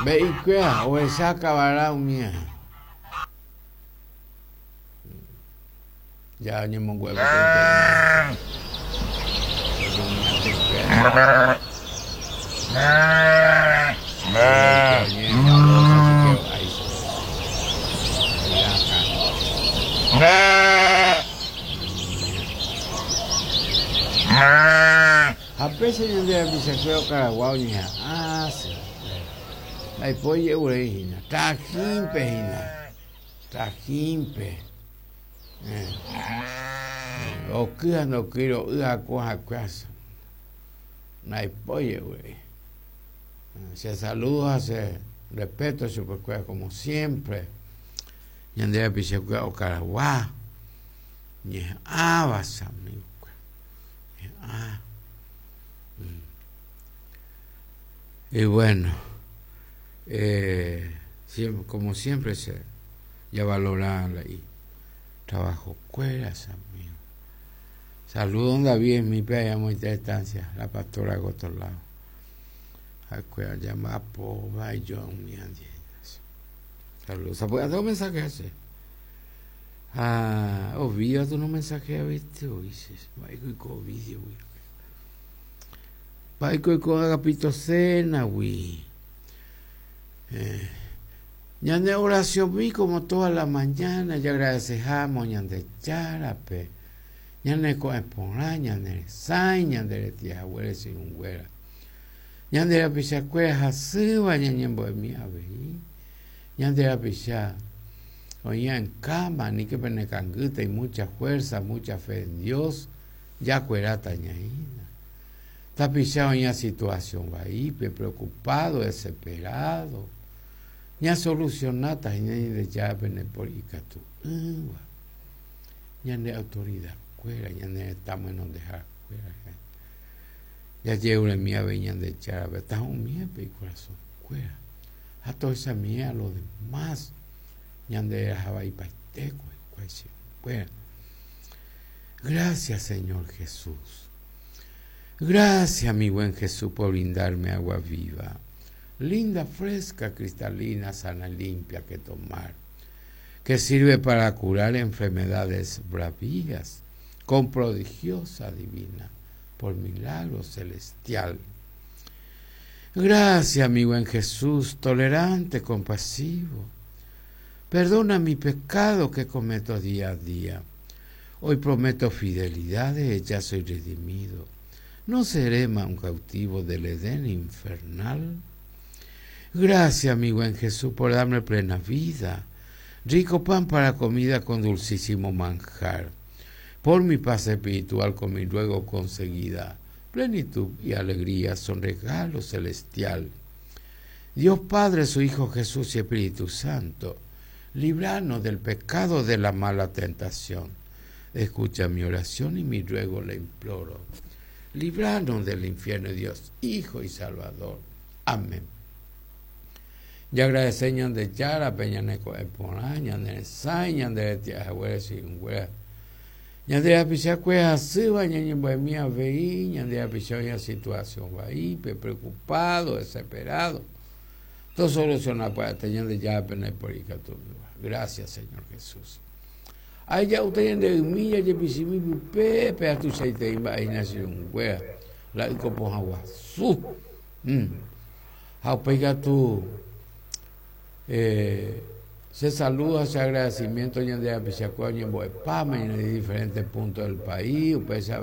Mbe'ikuéra ohecha kavara umía. Ja oñemongu'e peteĩ Ha péicha ñande rapichakuéra okaragua oñeha'ã che. Ndaipói je'urei hína. Trajínpe hína. Trajínpe. Oky ha ndokýi ro'y haku hakue asy. Ndaipói je'urei. Che saludo ha che respeto chupekuéra como siempre. Ñande rapichakuéra okaragua ñeha'ãva che amigo-kuéra. Ñeha'ã. Y bueno, eh, como siempre se ya valora la y trabajo cuera, amigo. Saludos don David en mi allá muy distancia, la pastora de otro lado. Acuera llama po yo mi Saludos. ¿Puede hacer un mensaje ese? Ah, Ovidio tu no mensaje viste, oíces. Mba'éiko Ovidio, güey. Mba'éiko oiko Agapito Cena-gui. Eh, ñane oraciónmi como toda la mañana jagradecehámo Ñandejárape ñane ko'ẽ porã, ñane resãi, ñande retĩ haguére che irũnguéra. Ñande rapichakuéra hasýva ñañembo'emi avei. Ñande rapicha oĩva en cama, aníke penekangýta, y mucha fuerza, mucha fe en Dios, jakueráta ñaína. Tapicha oĩva situación vaípe, preocupado, desesperado, ñasolucionáta hína Ñandejára pene por ikatu'ỹva. Ñande autoridad kuéra, ñane retã mohenondehára kuéra, jajeruremi avei Ñandejárape tahu'ũmiépe ikorasõ kuéra ha tohechamie a lo demás ñande reraha vaipaite ko hikuái che kuéra. Gracias Señor Jesús. Gracias mi buen Jesús por brindarme agua viva, linda, fresca, cristalina, sana, limpia que tomar, que sirve para curar enfermedades bravías, con prodigiosa divina, por milagro celestial. Gracias, mi buen Jesús, tolerante, compasivo. Perdona mi pecado que cometo día a día. Hoy prometo fidelidad, ya soy redimido. No seré más un cautivo del Edén infernal. Gracias, mi buen Jesús, por darme plena vida, rico pan para comida con dulcísimo manjar, por mi paz espiritual con mi ruego conseguida. Plenitud y alegría son regalo celestial. Dios Padre, su Hijo Jesús y Espíritu Santo, libranos del pecado de la mala tentación. Escucha mi oración y mi ruego le imploro. Libranos del infierno, Dios, Hijo y Salvador. Amén. Jagradece Ñandejárape ñane ko'ẽ porã, ñane resãi, ñande retia'e haguére chi'ũnguéra. Ñande rapichakue hasýva ñañembo'emi avei, ñande rapicha oĩva situación vaípe, preocupado, desesperado. Tosoluciona pya'ete Ñandejárape ndaipóri ikatúmiva. Gracias, Señor Jesús. Aheja'úta ñande ymi jajepichimi pype, péva tuichaitei mba'e hína che irũnguéra, la yko pohã guasu. Mm. Ha upéi katu eh, che saludo ha che agradecimiento ñande rapichakuéra oñembo'epáma ñane diferentes puntos del país, upéicha.